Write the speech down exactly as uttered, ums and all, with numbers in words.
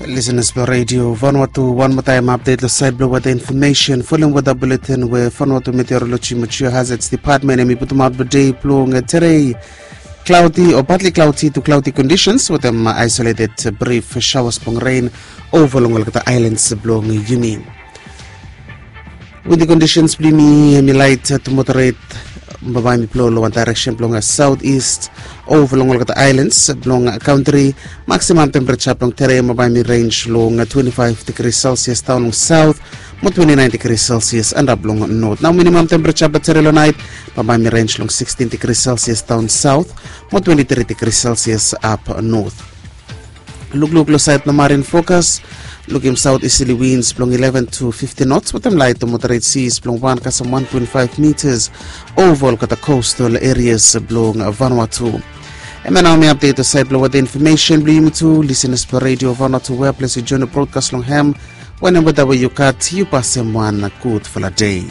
Listeners blong Radio Vanuatu, wan moa taem update long sait blong weather information. Following weather bulletin we Vanuatu Meteorology Mature Hazards Department hemi putumaot blong dei blong terei, cloudy o partly cloudy to cloudy conditions wetem isolated brief showers blong rain over long olgeta islands blong yumi. Windy conditions blong yumi hemi light to moderate, bambae hemi blow long wan direction blong southeast over long olgeta islands blong country. Maximum temperature blong terei bambae hemi range long twenty-five degrees Celsius down long south mo twenty-nine degrees Celsius antap long north. Nao minimum temperature blong terei long nait bambae hemi range long sixteen degrees Celsius down south mo twenty-three degrees Celsius up north. Lukluk long sait blong marine forecast, lukim south easterly winds blong eleven to fifteen knots wetem light to moderate seas blong wan kasem one point five meters over olgeta coastal areas blong Vanuatu. Hemia nao hemi update long sait blong weather information blong yumi tu, listeners blong Radio Vanuatu, wea ples yu join long broadcast long hem. Wanem weather we yu gat, yu pasem wan gudfala dei.